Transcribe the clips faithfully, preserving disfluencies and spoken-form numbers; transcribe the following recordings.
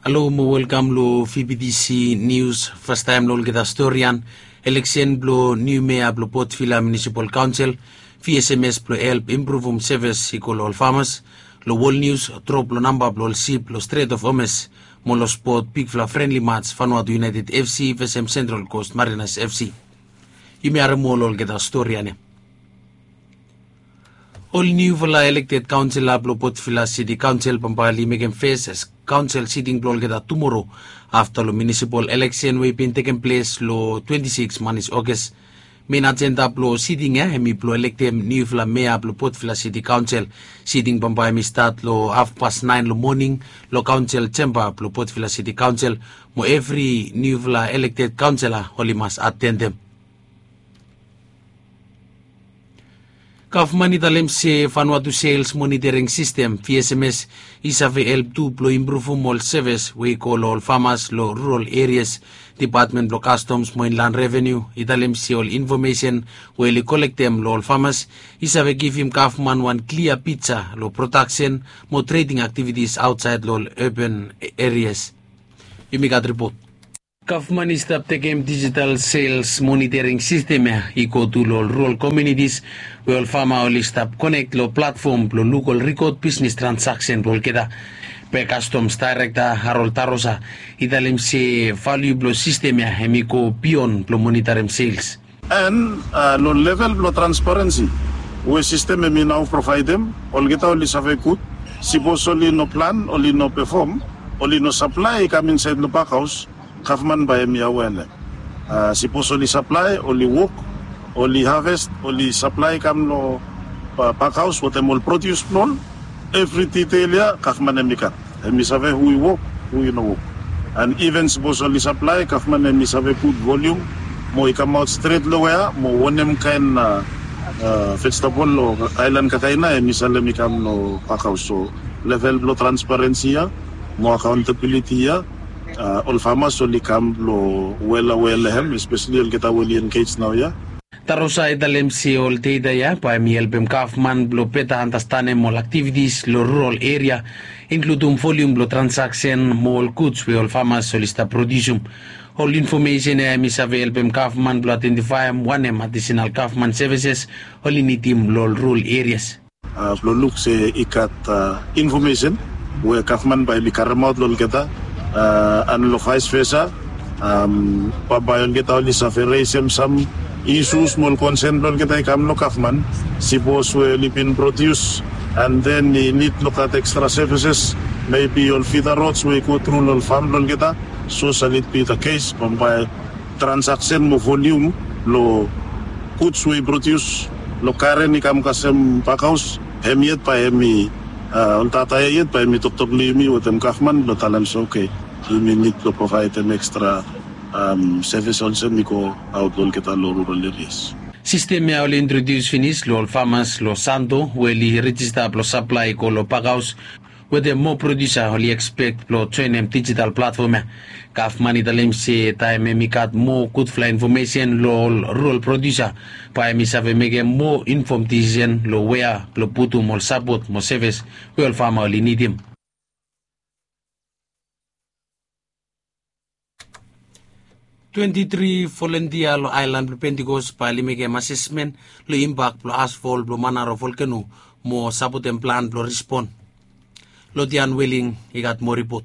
Halo mo welkam long V B T C Nius. Fastaem long olgeta storian, eleksen blong niu mea blong Port Vila Munisipal Kaonsel, V S M S blong help impruvum sevis i go long ol famas. Long wol nius, drop long namba blong ol sip long Strait of Hormuz, mo long spot bigfala frenli mats Vanuatu United F C vesem Central Coast Mariners F C. Yumi harem ol olgeta storian ya. Ol niufala elekted kaonsela blong Port Vila City Kaonsel bambae oli mekem fes kaonsel siting blong olgeta tumoro afta long munisipal eleksen we i bin tekem ples long twenti sikis manis Ogas. Mein ajenda blong siting ya hemi blong elektem niufala mea blong Port Vila City Kaonsel. Siting bambae hemi stat long hafpas naen long moning long kaonsel jemba blong Port Vila City Kaonsel, mo evri niufala elekted kaonsela oli mas atendem. Gavman i talem se Vanuatu Sales Monitoring System, V S M S, i save help tu blong impruvum ol sevis we i go long ol famas long rural erias. Depatmen blong Kastoms mo Inland Revenu i talem se ol infomesen we oli kolektem long ol famas i save givim gavman wan klia pija long prodaksen mo treding aktivitis aotsaed long ol urban erias. Yumi gat ripot. Gavman i stap tekem dijital sales monitoring sistem ya i go tu long ol rural komunitis we ol fama oli stap konek long platfom blong luk ol rikod bisnis transaksen blong olgeta. Be Kastoms Daerekta Harold Tarosa i talem se valiu blong sistem ya hemi go bion blong monitorim sales. And long level blong transparensi we sistem hemi nao provaedem, olgeta oli save gud. Sipos oli no plan, oli no pefom, oli no saplae i kam insaed long pakhaos, gavman bae hemi awea long hem. Sipos oli saplae, oli wok, oli haves, oli saplae i kam long pakhaos wetem ol prodius blong ol, evri ditel ya gavman hemi gat. Hemi save hu i wok, hu i no wok. And iven sipos oli saplae, gavman hemi save put volium mo i kamaot stret long wea mo wanem kaen vejetebol o aelan kakaena hemi salem i kam long pakhaos. So level blong transparensi ya mo akaontabiliti ya, ol famas oli kam blong wel awea long hem, espeseli olgeta we oli engej naoia. Tarosa i talem se ol data ya bae hemi helpem gavman blong beta andastanem ol aktivitis long rural eria, inkludum volium blong transaksen mo ol guds we ol famas oli stap prodiusum. Ol infomesen ya hemi save helpem gavman blong aedentifaem wanem adisenal gavman sevises oli nidim long ol rural erias. Blong luk se i gat infomesen we gavman bae hemi karemaot long olgeta, and long vaes vesa, bambae olgeta oli save resem sam isus mo ol konsen blong olgeta i kam long gavman. Sipos we oli bin prodius and then i nid long gat ekstra sevises, mebi ol fida rods we i go tru long ol fam blong olgeta. So sal it bi the case, bambae transaksen mo volium blong guds we i prodius long karen i kam kasem pakhaos, hem yet bae hemi, ol data ya yet bae hemi toktok long yumi wetem gavman blong talem se oke, yumi nid blong provaedem ekstra sevis olsem i go aot long olgeta long rural erias. Sistem ya oli introdius finis long ol famas long Santo we oli rejista blong saplae i go long pakhaos. Wetem moa prodiusa oli ekspek blong joenem dijital platfom ya. Gavman i talem se taem hemi gat moa gudfala infomesen long ol rural prodiusa, bae hemi save mekem moa infom disisen long wea blong putum ol sapot mo sevis we ol fama oli nidim. Twenti tri volentia long aelan blong Pentikos bae oli mekem asesmen long impak blong asfol blong Manaro volkeno mo sapotem plan blong rispon. Lotian Weling i gat moa ripot.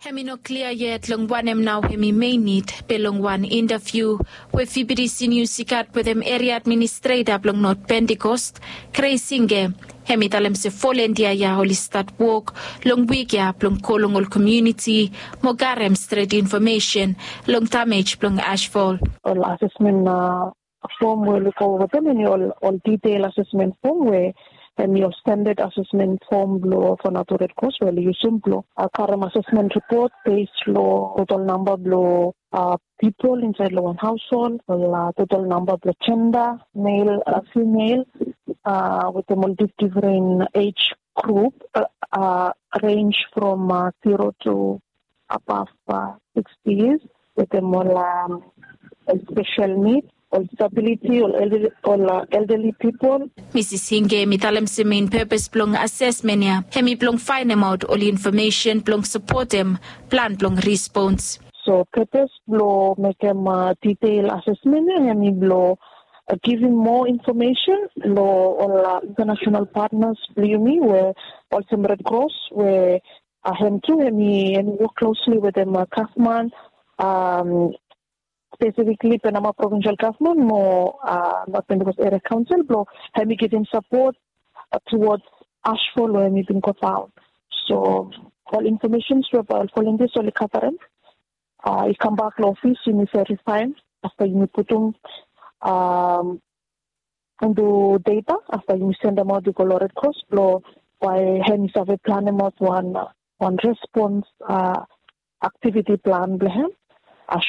Hem i no klia yet long wanem nao hem i mein nid, be long wan intaviu we V B T C Nius i gat wetem eria administreta blong Not Pentikos, Grace Inge, hem i talem se volentia ya oli stat wok long wik ya blong go long ol komuniti mo karem stret infomesen long damej blong asfol. Ol asesmen fom we oli go wetem hem i ol detail asesmen fom we hem i ol standad asesmen fom blong Vanuatu Red Cross we oli yusum blong karem asesmen ripot bes long total namba blong pipol insaed long wan haoshol, ol total namba blong jenda, mel, fimel, wetem ol difdifren ej grup, renj from zero to above sixty years, wetem ol spesel nid. ol disabiliti, ol elderly pipol. Misis Hinge hemi talem se mein pepes blong asesmen ya hemi blong faenemaot ol infomesen blong sapotem plan blong respons. So pepes blong mekem ditel asesmen ya hemi blong givim moa infomesen long ol intanasional patnas blong yumi we olsem Red Cross we hem tu hemi wok klosli wetem gavman, spesifikli Penama Provinsel Gavman mo North Pentecost Eria Kaonsel blong hemi givim sapot tuwod ashfol we hemi bin godaon. So ol infomesens we bae ol volontias oli gatarem i kambak long ofis, yumi verifaem afta yumi putum onto data, afta yumi sendemaot i go long Red Cross blong bae hemi save planemaot wan respons aktiviti plan blong hem,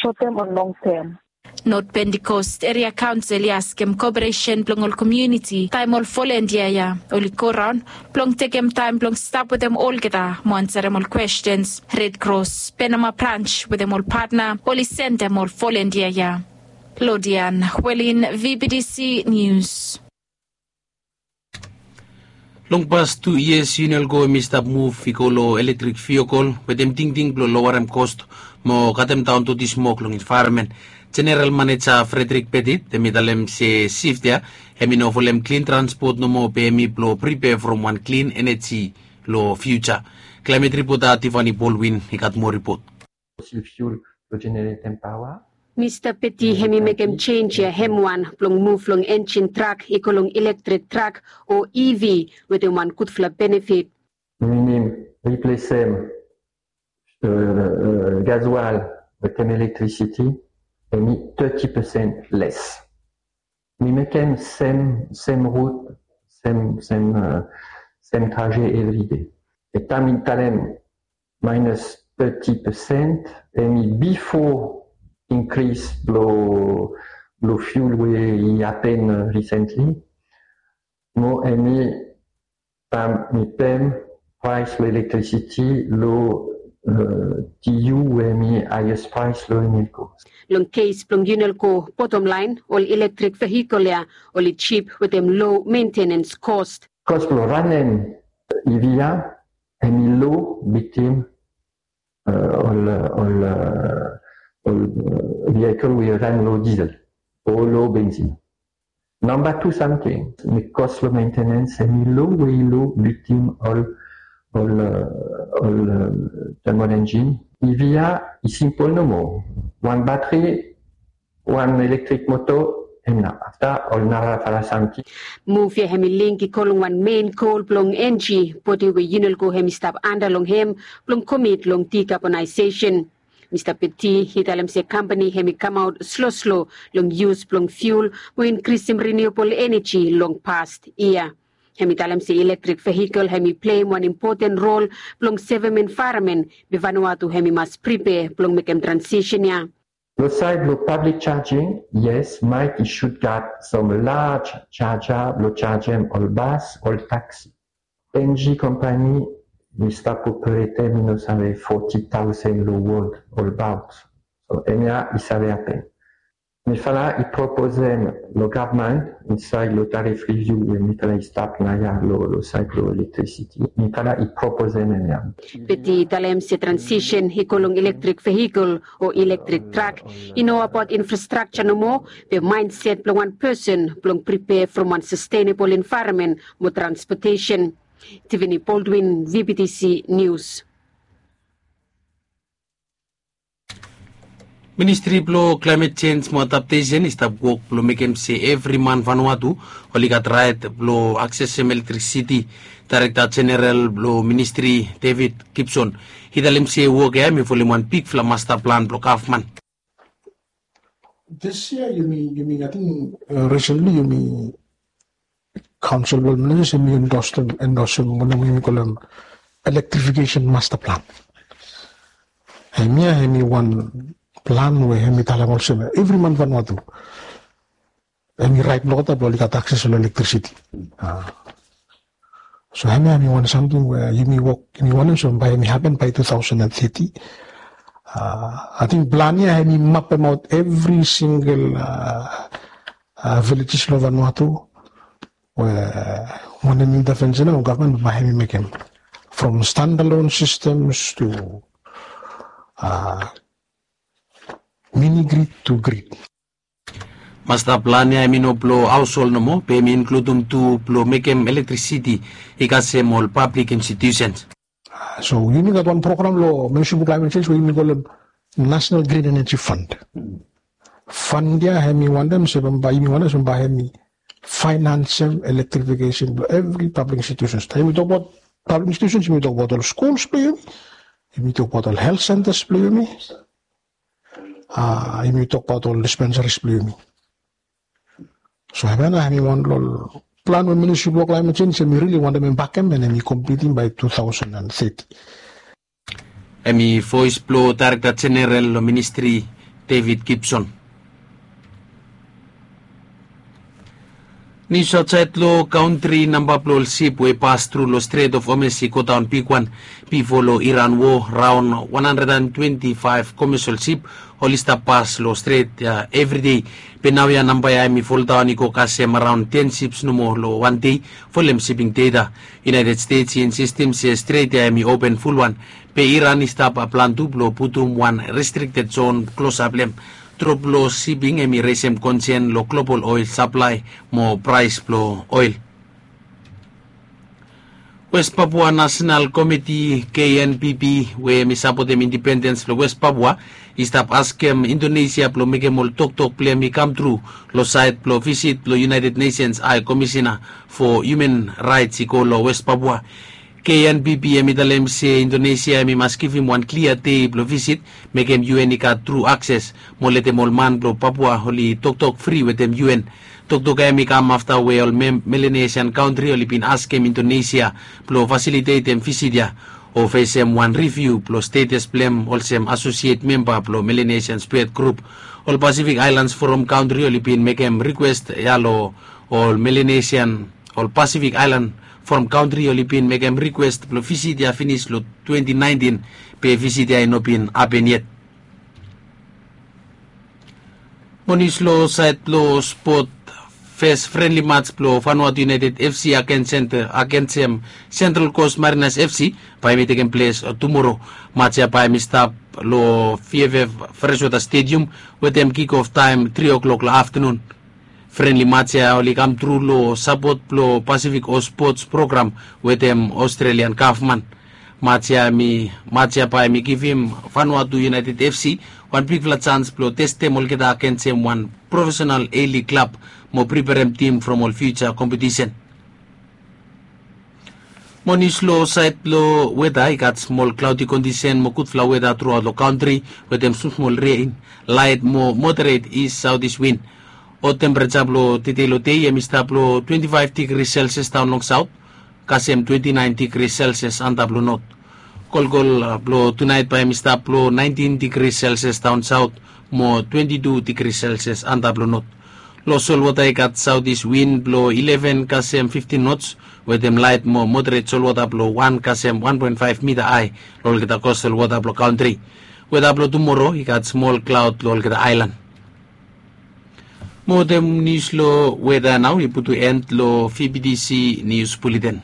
short term and long term. North Pentecost Eria Kaonsel i askem koperesen blong ol komuniti taem ol volontia ya oli goraon blong tekem taem blong stap wetem olgeta mo ansarem ol kwestens. Red Cross Penama Brans wetem ol patna oli sendem ol volontia ya. Lodian Welin, V B T C News. Long pas tu yias Unelco hemi stap muv i go long eletrik viokol wetem tingting blong lowarem kos mo katem daon doti smok long envaeronmen. Jeneral Maneja Frederick Petit hemi talem se sift ya hemi no folem klin transpot nomo be hemi blong pripea from wan klin eneji long fiuja. Klaemet ripota Tiffany Baldwin i gat moa ripot. Mista Petit hemi mekem jenj ya hem wan blong muv long enjin trak i go long eletrik trak o E V wetem wan gudfala benefit. Minim riplesem gasoil wetem elektrisiti hemi teti pesen les. Mi mekem sem, sem rut, sem, sem, sem traje evride. E taem mi talem minus teti pesen hemi bifo inkris blong, blong fiul we i hapen risentli. Mo hemi taem mi pem praes blong elektrisiti long T U we hemi haes praes long Unelco. Long kes blong Unelco, botom laen, ol eletrik vehikol ya oli jip wetem lo mentenens kos. Kos blong ranem E V ya hemi lo bitim ol, ol, ol vehikol we i ran long diesel o long benzin. Namba tu samting, mi kos long mentenens hemi lo we i lo bitim ol, ol, ol thermal engine. E V ya i simpol nomo. Wan batri, wan eletrik moto, hemia. Afta ol narafala samting. Muv ya hemi link i go long wan mein gol blong enji bodi we Unelco hemi stap anda long hem blong komit long dikabonaesesen. Mista Petit i talem se kampani hemi kamaot sloslo long yus blong fiul mo inkrisim riniuabol eneji long past yia. Hemi talem se eletrik vehikol hemi pleim wan impoten rol blong sevem envaeronmen be Vanuatu hemi mas pripea blong mekem transisen ya. Long saed blong pablik jajing, yes, Mike i sud gat sam laj jaja blong jajem ol bas, ol taksi. Enji kampani mi stap operetem mi no save foti taosen long wol olbaot. So hemia i save hapen. Mifala i proposem long gavman insaed long tarif riviu we mifala i stap naoia long saed blong elektrisiti. Mifala i proposem hemia. Petit i talem se transisen i go long eletrik vehikol o eletrik trak i no abaot infrastrakja nomo, be maenset blong wan pesen blong pripea from wan sastenebol envaeronmen mo transpotesen. Tiffany Baldwin, V B T C News. Ministri blong Klaemet Jenj mo Adaptesen i stap wok blong mekem se evri man Vanuatu oli gat raet blong aksesem elektrisiti. Daerekta Jeneral blong ministri David Gibson i talem se wok ya hemi folem wan bigfala masta plan blong gavman. Dis yia yumi, yumi ating, resentli yumi kaonsel blong minista yumi endosem, endosem wanem yumi kolem elektrifikesen masta plan. Hemia hemi wan plan we hemi talem olsem evri man Vanuatu hemi raet blong olgeta blong oli gat akses long elektrisiti. So hemia hemi wan samting we yumi wok, yumi wantem se bae hemi hapen bae tu taosen and teti. Ating plan ya hemi mapemaot evri singel villages long Vanuatu, we wanem intervention nao gavman bae hemi mekem, from standalone systems to mini grid to grid. Masta plan ya hemi no blong haoshol nomo, be hemi inkludim tu blong mekem elektrisiti i kasem ol pablik institusens. So yumi gat wan program long Ministry blong Climate Change we yumi kolem National Green Energy Fund. Fund ya hemi wantem se bambae yumi wantem se bambae hemi faenansem electrification blong evri pablik institusens. Taem yumi tokbaot pablik institusens, yumi tokbaot ol skuls blong yumi, yumi tokbaot ol health centers blong yumi, a yumi tokbaot ol dispensaries blong yumi. So hemia nao hemi wan long ol plan we Ministry blong Climate Change hemi rili wantem embakem and hemi komplitim bae two thousand and thirty. Hemi voes blong Daerekta Jeneral long ministri, David Gibson. Nius aotsaed long kantri, namba blong ol sip we i pas tru long Strait of Hormuz i godaon bigwan bifo long Iran wo. Raon wan handred and twenti faef komesol sip oli stap pas long stret ya evri dei. Be naoia namba ya hemi foldaon i go kasem araon ten sips nomo long wan dei, folem siping deta. United States i insistim se stret ya hemi open fulwan, be Iran i stap plan tu blong putum wan restrikted zon klosap long hem. Drop long siping hemi resem konsen long global oel saplae mo praes blong oel. West Papua National Komiti, K N P P, we hemi sapotem indipendens blong West Papua, i stap askem Indonesia blong mekem ol toktok blong hem i kamtru long saed blong visit blong United Nations High Commissioner for Human Rights i go long West Papua. K N P P hemi talem se Indonesia hemi mas givim wan klia dei blong visit, mekem U N i gat tru akses mo letem ol man blong Papua oli toktok fri wetem U N. Toktok ya hemi kam afta we ol Melanesian kantri oli bin askem Indonesia blong fasilitetem visit ya o fesem wan riviu blong stetes blong hem olsem asosiet memba blong Melanesian Spirit Grup. Ol Pasifik Aelans Foram kantri oli bin mekem rikwes ya long ol Melanesian, ol Pasifik Aelan Foram kantri oli bin mekem rikwes blong visit ya finis long twenti naentin, be visit ya i no bin hapen yet. Mo nius long saed blong spot, fes frenli mats blong Vanuatu United F C agensem Central Coast Mariners F C bae hemi tekem ples tumoro. Mats ya bae hemi stap long V F F Freshwater Stadium wetem kikof taem tri o'clock long aftenun. Frenli mats ya oli kamtru long sapot blong Pasifik Host Sports Program wetem Australian gavman. Mats ya bae hemi givim Vanuatu United F C wan bigfala jans blong testem olgeta agensem wan profesenal A-League klab mo priperem tim from ol fiuja kompetisen. Mo nius long saed blong weta, i gat smol klaodi kondisen mo gudfala weta truaot long kantri wetem smosmol ren, laet mo moderet is saotis win. Hot tempereja blong tedei long dei hemi stap long twenti faef digri selsias daon long saot kasem twenti naen digri selsias antap long not. Kolkol blong tunaet bae hemi stap long naentin digri selsias daon saot mo twenti tu digri selsias antap long not. Long solwota i gat saotis win blong ileven kasem fiftin nots wetem laet mo moderet solwota blong wan kasem wan poen faef mita hae long olgeta kostal wota blong kantri. Weta blong tumoro i gat smol klaod long olgeta aelan. Mo wetem nius long weta nao i putum en long V B T C nius buleten.